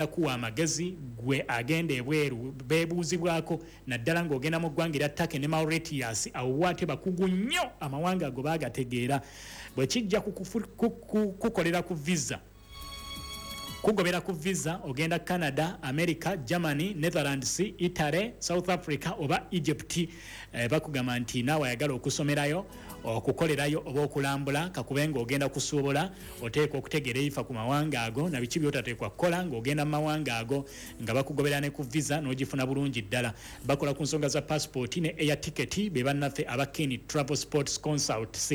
Kuwa amagezi gwe agenda ebweru beebuuzibwako naddala ng'ogenda mu ggwanga erya Turkey ne Mauritius awo wo ate bakugu nnyo amawanga ago baagategeera bwe kijja kukolera ku visa kugobera ku visa ogenda Canada, America, Germany, Netherlands, Italy, South Africa oba Egypt eh, bakugamba nti naawe ayagala okusomerayo okukolerayo oba okulambula kakube ng'ogenda kusuubula oteekwa okutegeera ebifa ku mawanga ago na biki by'otateekwa kukola ng'ogenda mu mawanga ago nga bakugobera ne ku visa n'ogifuna bulungi ddala. Bakola ku nsonga za paasipooti ne air ticket be bannaffe aba Kin Travel Sports Consults.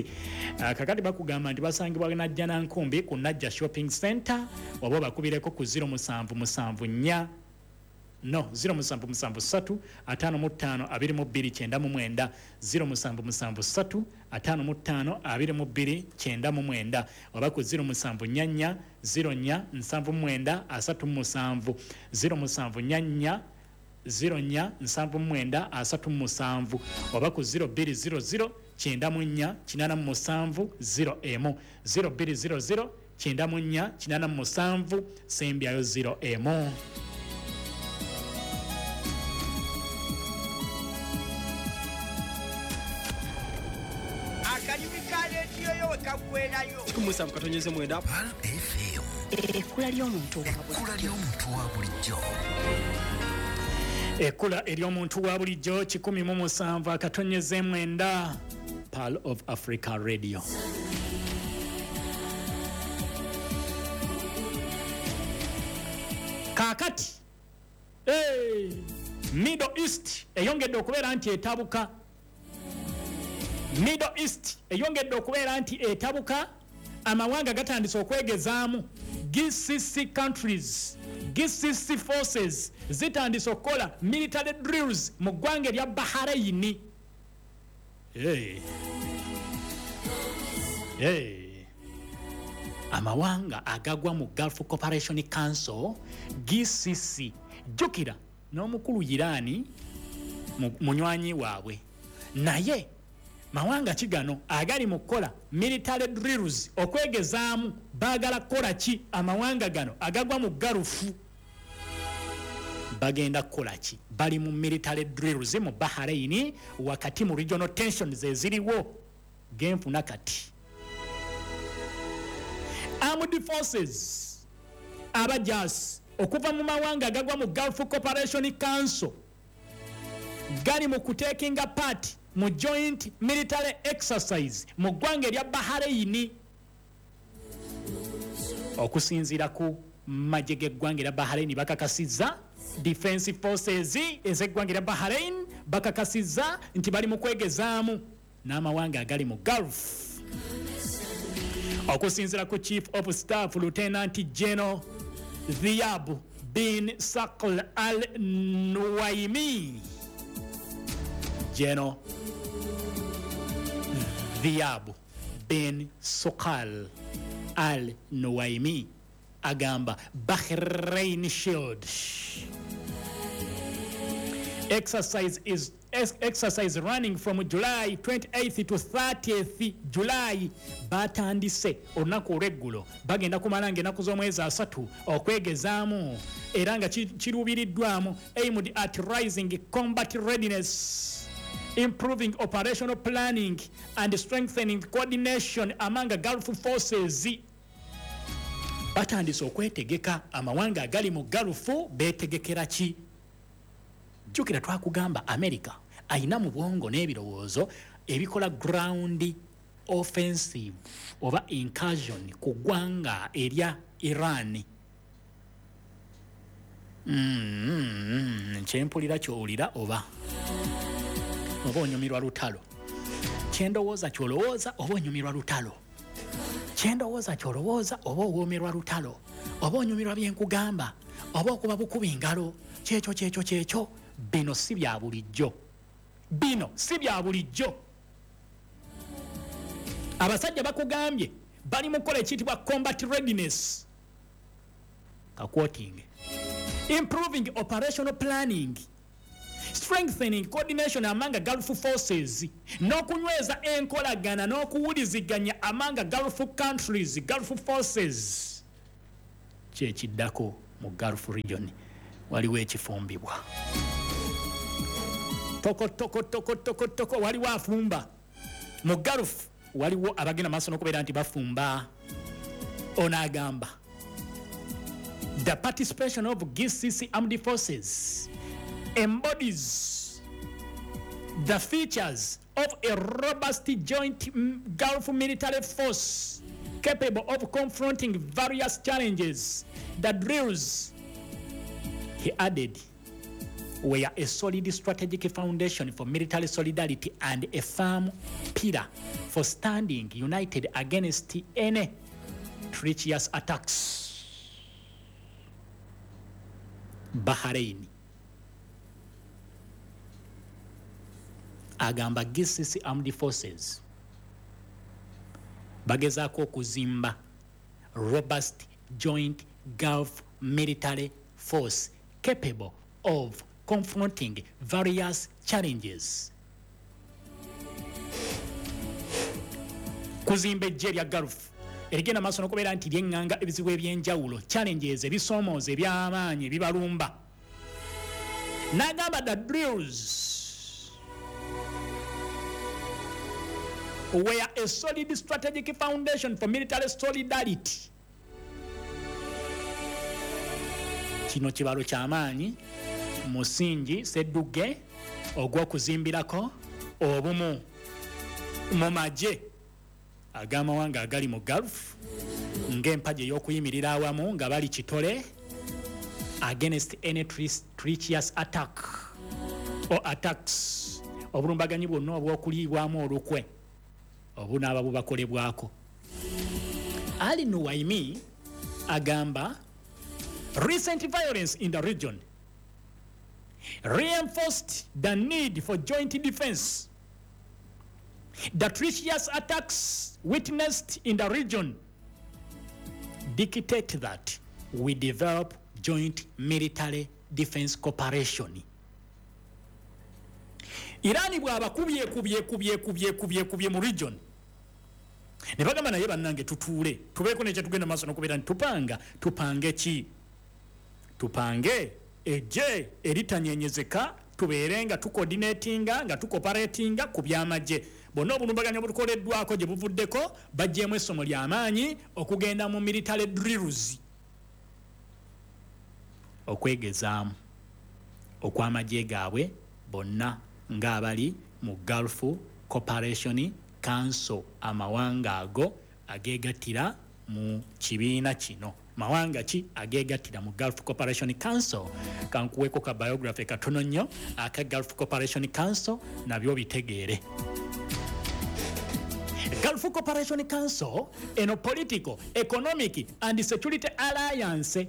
Ah, kakati bakugamba nti basangibwa Najjanankumbi ku Najja Shopping Center oba obakubireko ku 0774 No, 0773 55 22 99, 0773 55 22 99 oba ku 0744 04 79 37, 0744 04 79 37 oba ku 0200 94 87 01, 0200 94 87 sembyayo 0 emu. Akalimi ka leediyo yo we kaggweerayo. 17.9 Pearl FM. Ekkula ly'omuntu wa Ekkula ly'omuntu wa bulijjo. Ekkula ery'omuntu wa bulijjo 107.9 Pearl of Africa Radio. Kaakati hey, Middle East eyongedde okubeera nti etabuka. Middle East eyongedde okubeera nti etabuka, amawanga gatandise okwegezaamu. GCC countries, GCC forces zitandise okukola military drills mu ggwanga erya Bahrain. Hey. Hey. Amawanga agagwa mu Gulf Cooperation Council GCC, jjukira n'omukulu Iran munywanyi waabwe, naye mawanga ki gano agali mu kukola military drills okwegezaamu? Baagala kukola ki amawanga gano agagwa mu Gulf? Bagenda kukola ki? Bali mu military drills mu Bahrain wakati mu regional tensions eziriwo genfuna kati. Armed forces abajaasi okuva mu mawanga agagwa mu Gulf Cooperation Council gali mu kutekinga part mu joint military exercise mu ggwanga erya Bahrain. Okusinziira ku magye g'eggwanga erya Bahrain bakakasizza, Defense Forces ez'eggwanga erya Bahrain bakakasizza nti bali mu kwegezaamu n'amawanga agali mu Gulf. Okusinziira ku Chief of Staff Lieutenant General Dhiyab bin Saql Al Nuwaimi, General Dhiyab bin Saql Al Nuwaimi agamba Bahrain Shield exercise is exercise running from July 28th to 30th July. Batandise olunaku olw'eggulo, bagenda kumala nga ennaku z'omwezi 30 okwegezaamu era nga kiruubiriddwamu aimed at rising combat readiness, improving operational planning and strengthening coordination among Gulf forces. Batandise okwetegeka amawanga agali mu Gulf beetegekera ki? Jjukira twakugamba America ayina mu bwongo n'ebirowoozo ebikola ground offensive oba incursion ku ggwanga erya Iran. Kyempulira kyowulira oba onyumirwa lutalo, kyendowooza kyolowooza oba onyumirwa lutalo, kyendowooza kyolowooza oba owoomerwa lutalo, oba onyumirwa byenkugamba oba okuba bukuba engalo, kyekyo kyekyo kyekyo. Bino si bya bulijjo, bino si bya bulijjo. Abasajja bakugambye bali mu kukola ekiyitibwa combat readiness, kaquoting, improving operational planning, strengthening coordination among Gulf forces, n'okunyweza enkolagana n'okuwuliziganya among Gulf countries, Gulf forces. Kyekiddako Mu Gulf region waliwo ekifumbibwa toko toko toko toko toko, waliwo afumba mu Gulf, waliwo abagenda maaso n'okubeera nti bafumba. Ono agamba the participation of GCC armed forces embodies the features of a robust joint Gulf military force capable of confronting various challenges. The drills, he added, were a solid strategic foundation for military solidarity and a firm pillar for standing united against any treacherous attacks. Bahrain agamba GCC armed forces bagezaako okuzimba robust joint Gulf military force capable of confronting various challenges. Kuzimba ejje lya Gulf erigenda maaso n'okubeera nti lyeŋŋanga ebizibu ebyenjawulo, challenges, ebisoomooza eby'amaanyi ebibalumba. N'agamba the drills were a solid strategic foundation for military solidarity. Kino kibalo ky'amaanyi, musingi sedduge ogw'okuzimbirako obumu mu magye ag'amawanga agali mu Gulf ng'empagi ey'okuyimirira awamu nga bali kitole against any treacherous attack or attacks, obulumbaganyi bwonna obw'okuliibwamu olukwe obunaaba bubakolebwako. Ali Nuwaimi agamba recent violence in the region reinforced the need for joint defense. The treacherous attacks witnessed in the region dictate that we develop joint military defense cooperation. Irani bw'abakubye kubye kubye kubye kubye kubye mu region, ne bagamba naye bannange tutuule tubeeko nekye tugenda maaso n'okubeera nti tupanga. Tupange ki? Tupange ejje eritanyenyezeka, tubeere nga tucoordinatinga nga tucooperatinga ku byamagye. Bonna obulumbaganyi obutukoleddwako gye buvuddeko baggyemu essomo ly'amaanyi okugenda mu military drills, okwegezaamu okw'amagye gaabwe bonna ng'abali mu Gulf Cooperation Council, amawanga ago ageegattira mu kibiina kino. Mawanga ki ageegattira mu Gulf Cooperation Council? Kankuweeko ka biography katono nnyo aka Gulf Cooperation Council nabyo bitegeere. Gulf Cooperation Council eno political, economic and security alliance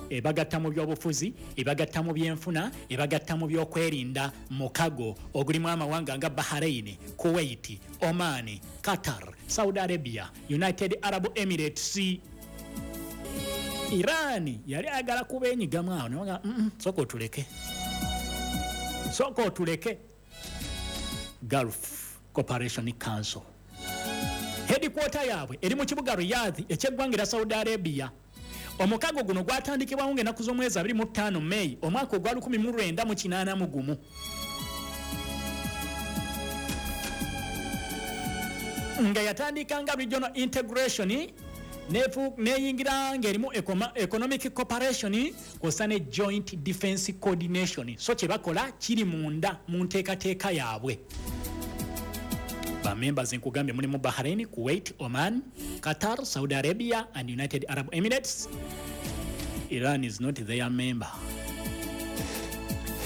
ebagatta mu byobufuzi, ebagatta mu byenfuna, ebagatta mu byokwerinda, mukago ogulimu amawanga nga Bahrain, Kuwait, Oman, Qatar, Saudi Arabia, United Arab Emirates. Iran yali ayagala kubenyigamu awo naga sooka otuleke, sooka otuleke. Gulf Cooperation Council headquarter yaabwe eri mu kibuga Riyadh ekyeggwanga erya Saudi Arabia. Omukago guno gwatandikibwawo ng'ennaku z'omwezi 25 May omwaka ogwa 1981 nga yatandika nga regional integration neyingira ng'erimu economic cooperation kw'ossa ne joint defense coordination. So kye bakola kiri munda mu nteekateeka yaabwe. Bamembers nkugambye mulimu Bahrain, Kuwait, Oman, Qatar, Saudi Arabia and United Arab Emirates. Iran is not their member.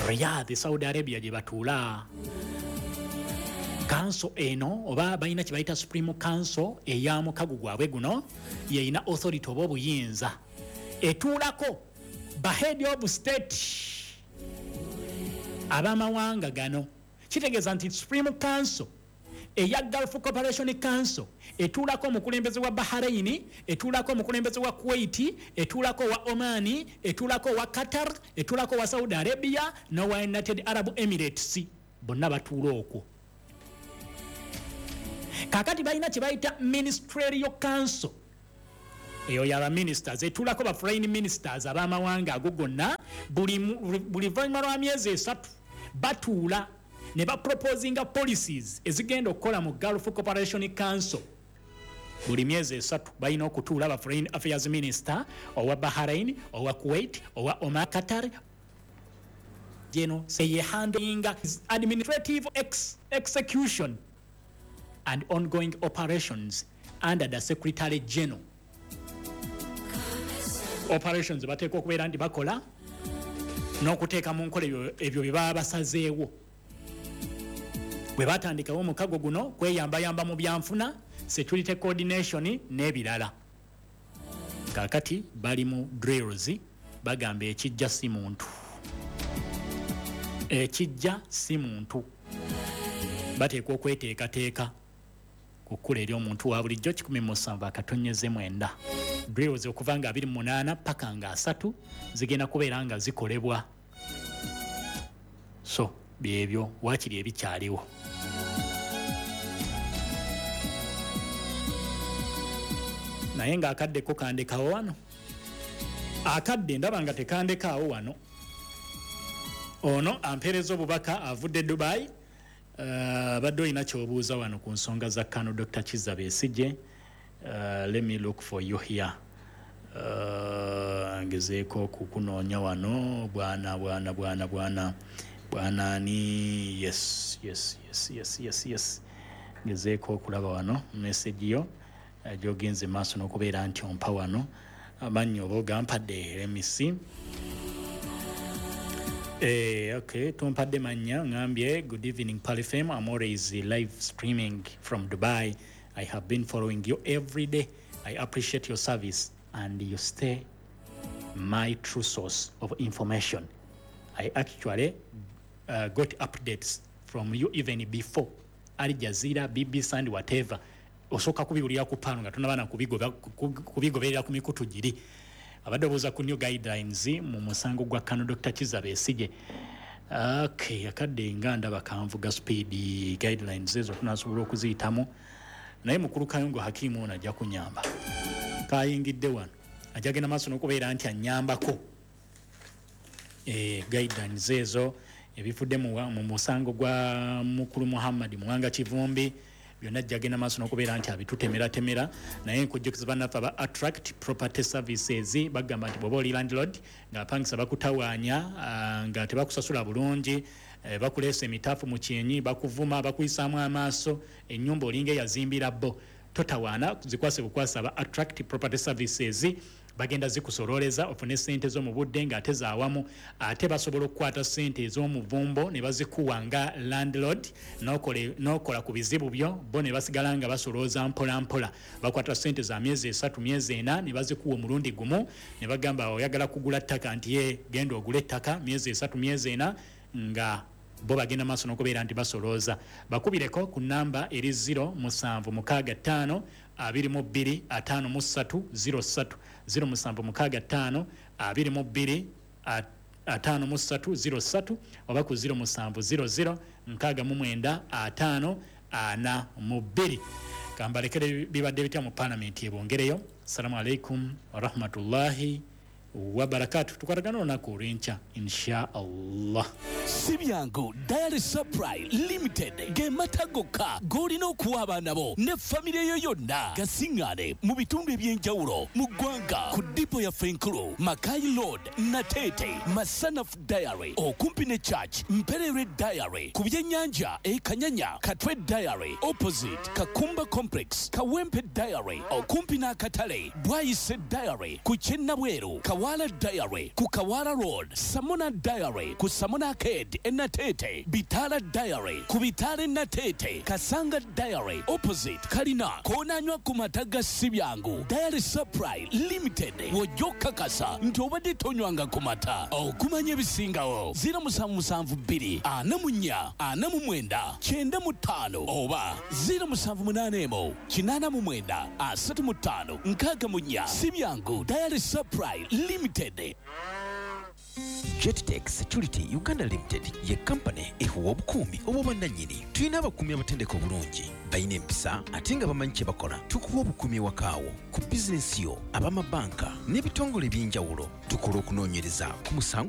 Riyadh, Saudi Arabia gye batuula. Council eno oba balina kye bayita Supreme Council eya mukago gwabwe guno, yeyina authority oba obuyinza etuulako ba head of state ab'amawanga gano. Kitegeeza nti Supreme Council eya Gulf Cooperation Council etuulako omukulembeze wa Bahrain, etuulako omukulembeze wa Kuwait, etuulako wa Oman, etuulako wa Qatar, etuulako wa Saudi Arabia n'owa United Arab Emirates. Bonna batuula okwo. Kaakati balina kye bayita Ministerial Council Eyo yaba ministers etuulako ba foreign ministers ab'amawanga ago gonna. Buli luvannyuma lwa myezi 3 batuula ne baproposinga policies ezigenda okukola mu Gulf Cooperation Council. Buli myezi 3 balina okutuula ba foreign affairs minister owa Bahrain, owa Kuwait, owa Oman, Qatar. Geno seye handling administrative execution and ongoing operations under the Secretary General. Operations bateekwa okubeera nti bakola n'okuteeka mu nkola ebyo bye baba basazeewo. Bwe batandikawo omukago guno kweyambayamba mu byanfuna, security coordination n'ebirala. Kaakati bali mu drills, bagamba ekijja si muntu, ekijja si muntu. Bateekwa okweteekateeka ku kkula eri omuntu wa bulijjo 17.9. Drills okuva nga 28 paka nga 3 zigenda kubeera nga zikolebwa. So byebyo waakiri ebikyaliwo. Naye ng'akadde ko kandekawo wano, akadde ndaba nga tekandekaawo wano. Ono ampeereza obubaka avudde Dubai. Abadde olina ky'obuuza wano ku nsonga za Kano Dr. Kizza Besigye. Let me look for you here. Ngezeeko kukunoonya wano bwana bwana bwana bwana bwana ani. Yes, yes, yes, yes, yes, yes. Ngezeeko okulaba wano message yo gy'ogenze maaso n'okubeera nti ompa wano amannya oba ogampadde. Let me see. Okay, tumpadde mannya. Ngambye, "Good evening, Pearl FM. I'm always live streaming from Dubai. I have been following you every day. I appreciate your service and you stay my true source of information. I actually got updates from you even before Al Jazeera, BBC and whatever." Osooka kubiwulira ku Pearl nga tonaba na kubigoberera ku mikutu giri. Abadde obuuza ku new guidelines mu musango gwa Kano Dr. Kizza Besigye. Okay, akadde nga ndaba kanvuga speed. Guidelines ezo tunasobola okuziyitamu, naye mukulu Kayongo Hakimu ono ajja kunyamba, kayingidde wano, ajja genda maaso n'okubeera nti annyambako. Guidelines ezo ebifudde mu musango gwa mukulu Muhammad Muwanga Kivumbi byonna ajja genda maaso n'okubeera nti abitutemeratemera. Naye nkujjukiza bannaffe aba Attract Property Services, bagamba nti bw'oba oli landlord ng'apangisa bakutawaanya, nga tebakusasula bulungi, bakuleesa emitaafu mu kyenyi, bakuvuma, bakuyisaamu amaaso, ennyumba olinga eyazimbira bo, totawaana, zikwase bukwasa aba Attract Property Services. Bagenda zikusololeza ofune sente zo mu budde ng'ate zaawamu. Ate basobola okukwata sente ez'omuvumbo ne bazikuwa nga landlord, n'okola ku bizibu byo, bo ne basigala nga basolooza mpola mpola. Bakwata sente za myezi 3, myezi 4, ne bazikuwa omulundi gumu, ne bagamba, "Oyagala kugula ttaka?" Nti, "Ye, genda ogule ettaka." Myezi 3, myezi 4, nga bo bagenda maaso n'okubeera nti basolooza. Bakubireko ku namba eri 0765 22 53 03, 0765 22 53 03, oba ku 0700 69 50 42. Kambalekere bibadde bitya mu palamenti ebongereyo. Assalamu alaikum warahmatullahi wabarakatu. Tukwatagana olunaku olw'enkya, insha Allah. Si byangu. Dairy Supply Limited ge mata gokka g'olina okuwa abaana bo ne famire yo yonna. Gasiŋŋaane mu bitundu eby'enjawulo mu ggwanga ku dipo yaffe enkulu, Makai Road, Nateete, Masanaf Dairy okumpi ne church, Mpererwe Dairy ku byennyanja e Kanyanya, Katwe Dairy opposite Kakumba Complex, Kawempe Dairy okumpi n'akatale, Bwayise Dairy ku Kyennabweru, Kawala Dairy ku Kawala Road, Samona Dairy ku Samona Arcade e Nateete, Bitala Dairy ku Bitala e Nateete, Kasanga Dairy opposite Kalina. Koonanywa ku mata ga Sibyangu Dairy Supply Limited, w'ojja okukakasa nti obadde tonywanga ku mata. Okumanya ebisingawo, 0772 44 49 95 oba 0781 89 35 64. Sibyangu Dairy Supply Limited. Jettech Security Uganda Limited ye kampani ekuwa obukuumi obw'obwannannyini. Tulina abakuumi abatendeka obulungi, balina empisa ate nga bamanyi kye bakola. Tukuwa obukuumi ewakaawo, ku bizinensi yo, ab'amabanka n'ebitongole eby'enjawulo. Tukola okunoonyereza ku musango.